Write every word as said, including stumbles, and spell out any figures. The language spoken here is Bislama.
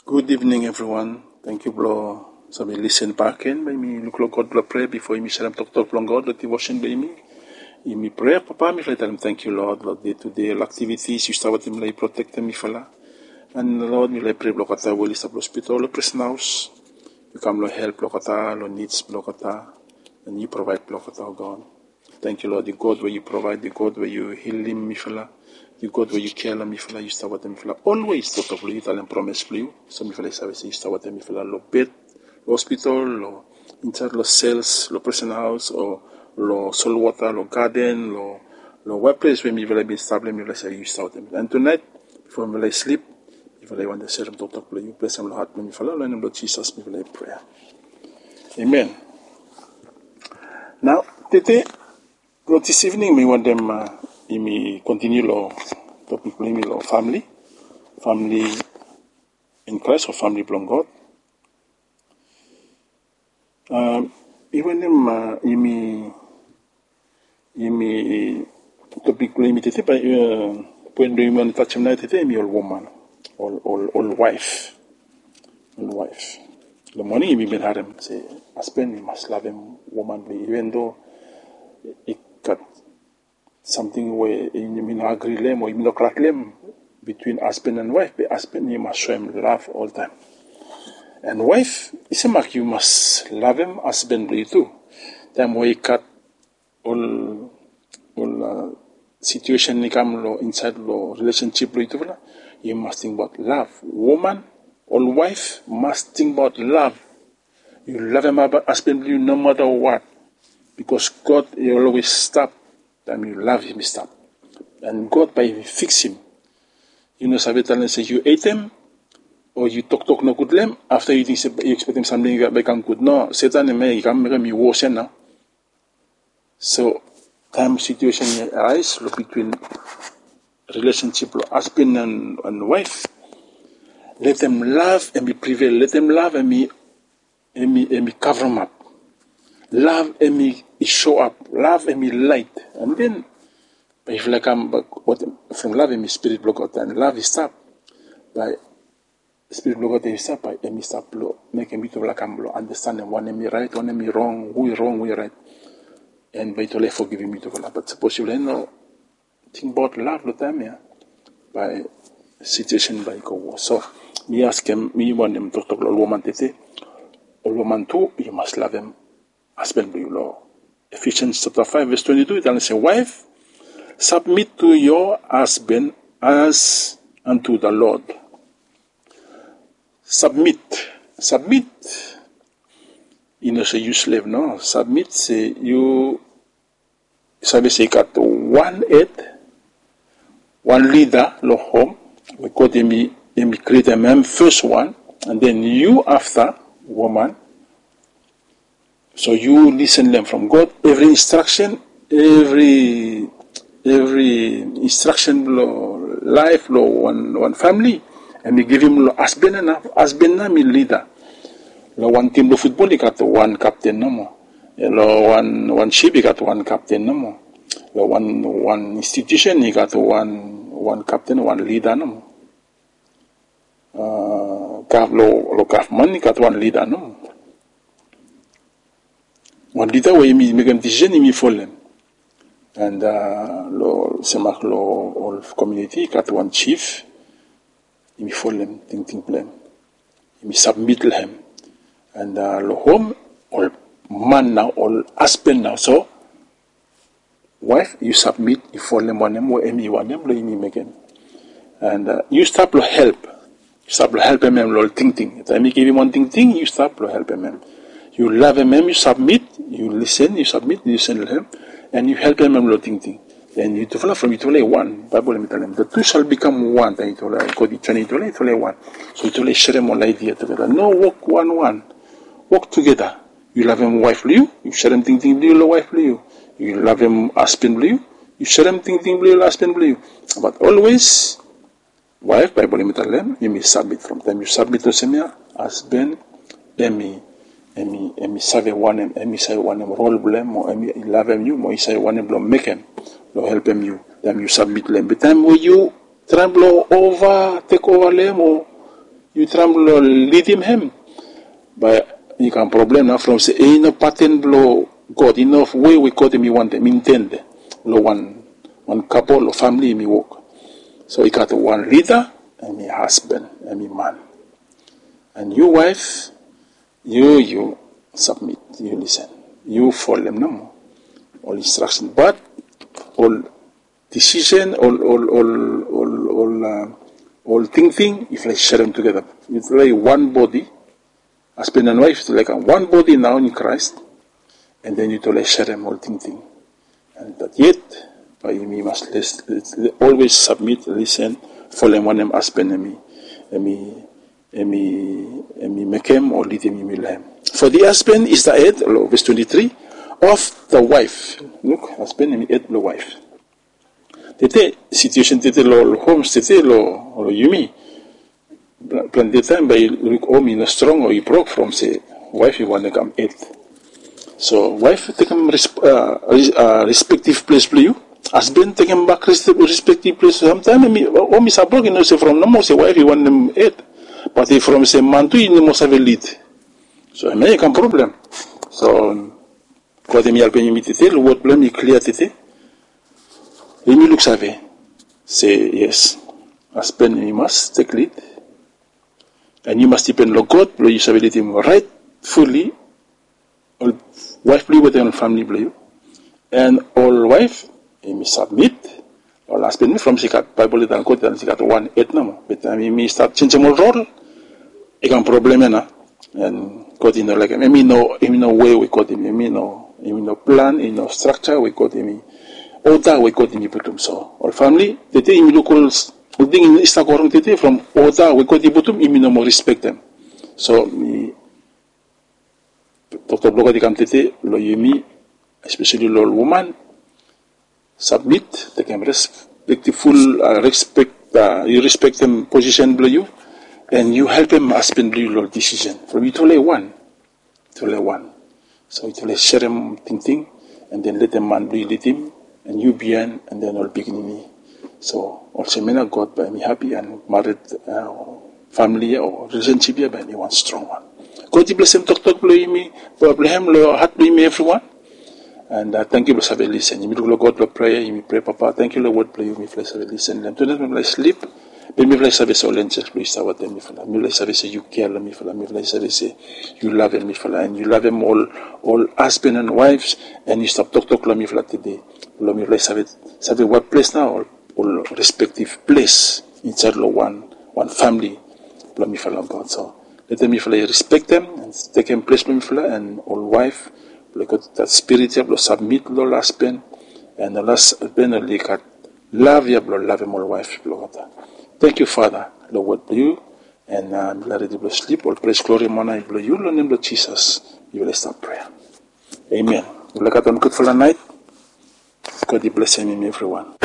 Gud ivning evriwan. Tangkiu blong save lisen bak gen. Bae yumi luk long God blong prea bifo yumi serem toktok blong God long divosen blong yumi. Yumi prea, Papa, mifala i talem tangkiu, Lord, long dei tu dei ol aktivitis yu stap wetem, mifala i protektem mifala. And Lord, mifala i prea blong olgeta we oli stap long hospital, long presen haos, yu kam long help blong olgeta, long nids blong olgeta, and yu provaed blong olgeta, o God. Tangkiu, Lord, yu God we yu provaed, yu God we yu hilim mifala, yu God we yu kea long mifala, yu stap wetem mifala olwes. Toktok blong yu talem promes blong yu, so mifala i save se yu stap wetem mifala long bed, long hospital, long insaed long sels, long presen haos, o long solwota, long gaden, long, long weples we mifala i bin stap long hem, mifala i save se yu stap wetem mifala. And tunaet, bifo mifala i slip, mifala i wantem serem toktok blong yu. Blesem long hat blong mifala, long nem blong Jisas mifala i prea. Amen. Nao tede, long dis ivning, mi wantem, a, yumi kontiniu long topik blong yumi long famili. Famili in Christ o famili blong God. A, mi wantem, a, yumi, yumi, topik blong yumi tede, bae, a, poen blong yumi wantem tajem nao tede, hemi ol woman, ol, ol, ol waef. Ol waef. Long moning yumi bin harem se hasben i mas lavem woman blong i, even though i gat samting we yumi no agri long hem o yumi no glad long hem bitwin hasben and waef, be hasben i mas soem lav oltaem. And waef, i semak yu mas lavem hasben blong yu tu. Taem we i gat ol, ol, a, situesen i kam long insaed long rilesensip blong yutufala, yu mas tingbaot lav. Woman, ol waef mas tingbaot lav. Yu lavem hasben blong yu no mata wat. Bikos God i olwes stap taem yu lav hem i stap. And God bae i fiksim. Yu no save talem se yu hetem o yu toktok nogud long hem, afta yu ting se yu ekspektem samting bae i kam gud. No, Setan hemia i kam mekem i wos ia nao. So taem situesen i arais long bitwin rilesensip blong hasben and, and waef, letem lav hemi privel, letem lav hemi, hemi, hemi kavremap. Lav hemi soap, lav hemi laet. And then bae yufala i kam, bae from lav hemi spirit blong God, and lav i stap, bae spirit blong God i stap, bae hemi stap blong mekem yutufala kam blong andastanem wanem i raet, wanem i rong, hu i rong, hu i raet. And bae yutufala i fogivim yutufala. Bat sapos yufala i no tingbaot lav long taem ia, bae situesen bae i go wos. So mi askem, mi wantem toktok long ol woman tede. Ol woman tu, yu mas lavem hasben blong yu. Long Ephesians chapter five verse twenty-two i talem se, "Wife, submit to your husband as unto the Lord." Submit. Submit i no se yu slev, no. Submit se yu save se i gat wan hed, wan lida long hom, we God hemi, hemi krietem hem fes wan, and then yu afta, woman. So yu lisen long hem from God, evri instraksen, evri, evri instraksen blong laef long wan, wan famili, hemi givim long hasben ia nao. Hasben ia hemi lida. Long wan tim blong futbol i gat wan kapten nomo. Long wan, wan sip i gat wan kapten nomo. Long wan, wan institusen i gat wan, wan kapten, wan lida nomo. A, gov-, long, long gavman i gat wan lida nomo. Wan lida we yumi mekem disisen, yumi folem. And, a, long, semak long ol komuniti i gat wan jif, yumi folem tingting blong hem. Yumi sabmit long hem. And, a, long hom, ol man nao, ol hasben nao. So waef, yu sabmit, yu folem wanem we hemi wanem blong yumi mekem. And, a, yu stap long help. Yu stap long helpem hem long ol tingting. Taem i givim wan tingting, yu stap long helpem hem. Yu lavem hem, yu sabmit, yu lisen, yu sabmit, yu lisen long hem, and yu helpem hem long tingting. Then yutufala, from yutufala i wan. Baebol hemi talem, "The two shall become one." Taem yutufala, God i joenem yutufala, yutufala i wan. So yutufala i serem ol aedia tugeta. No wok wanwan. Wok tugeta. Yu lavem waef blong yu, yu serem tingting blong yu long waef blong yu. Yu lavem hasben blong yu, yu serem tingting blong yu long hasben blong yu. Bat olwes, waef, Baebol hemi talem, yumi sabmit. From taem yu sabmit olsem ia, hasben hemi, hemi, hemi save wanem, hemi save wanem rol blong hem, o hemi lavem yu, mo i save wanem blong mekem, blong helpem yu, taem yu sabmit long hem. Be taem we yu traem blong ova, tek ova long hem, o yu traem blong lidim hem, bae i kam problem nao from se i no paten blong God, i no we we God hemi wantem, intend long wan, wan kapol o famili hemi wok. So i gat wan lida, hemi hasban, hemi man. And yu waef, yu, yu submit, yu lisen, yu folem nomo ol instraksen. Bat ol disisen, ol, ol, ol, ol, ol, a, ol tingting, yufala i serem tugeta. Yufala i wan bodi. Hasban and waef, yufala i kam wan bodi nao in Kraes. And then yufala i serem ol tingting. And dat yet, bae yumi mas les, les, always submit, lisen, folem wanem hasban hemi, hemi, hemi, hemi mekem o lidim yumi long hem. For the husband is the head, long ves twenti tri, of the wife. Luk, hasban hemi hed blong waef. Tede, situation tede long ol homes tede long, long yumi. Pla-, plante taem bae yu luk hom i no strong o i brok from se waef i wantem kam hed. So waef tekem res-, a, res-, a, respective ples blong yu. Hasban tekem bak res-, respective ples. Samtaem hemi, hom i save brok, i no se from nomo se waef i wantem hed. Bat i from se man tu i no moa save lid. So hemia i kam problem. So God hemi helpem yumi tede, long wod blong hem i klia tede. Yumi luksave se yes, hasban i mas tek lid. And yu mas dipen long God blong yu save lidim rightfully ol waef blong yu wetem ol famili blong yu. And ol waef, yumi submit. Ol hasban, from se i gat Baebol i talem, God i talem se i gat wan hed nomo. Be taem yumi stat jenjem ol rol, i kam problem ia nao. And God i no laekem. Hemi no, hemi no we we God hemi, hemi no, hemi no plan, hemi no structure we God hemi, oda we God hemi putum. So ol famili, tede yumi luk ol s-, ol ting i stap go rong tede from oda we God i putum, yumi no moa respektem. So mi toktok blong God i kam tede long yumi, especially long ol woman. Submit, tekem respectful, a, respect, a, yu respektem posisen blong yu, and yu helpem hasban blong yu long ol disisen. From yutufala i wan, yutufala i wan. So yutufala i serem tingting, and then letem man blong yu lidim, and yu biaen, and then ol pikinini. So olsem ia nao God bae hemi hapi, and mared, a, famili ia o rilesensip ia bae hemi wan strong wan. God i blesem toktok blong yumi, blong hem long hat blong yumi evriwan. And, a, tangkiu blong save lisen. Yumi luk long God blong prea, yumi prea, Papa, tangkiu long wod blong yu, mifala i save lisen long hem. Tunaet mifala i slip, be mifala i save se ol enjels blong yu i stap wetem mifala. Mifala i save se yu kea long mifala. Mifala i save se yu lavem mifala, and yu lavem ol, ol hasban and waefs, and yu stap toktok long mifala tede. Blong mifala i save, save wat ples nao, ol, ol respektiv ples insaed long wan, wan famili blong mifala, God. So letem mifala i respektem and tekem ples blong mifala, and ol waef blong i gat dat spirit ia blong submit long ol hasban, and ol hasban oli gat lav ia blong lavem ol waef blong olgeta. Tangkiu Fada long wod blong yu, and, a, mifala redi blong slip, ol pres, glori, mona i blong yu, long nem blong Jisas mifala i stap prea. Amen. Mifala gat wan gudfala naet. God i blesem yumi evriwan.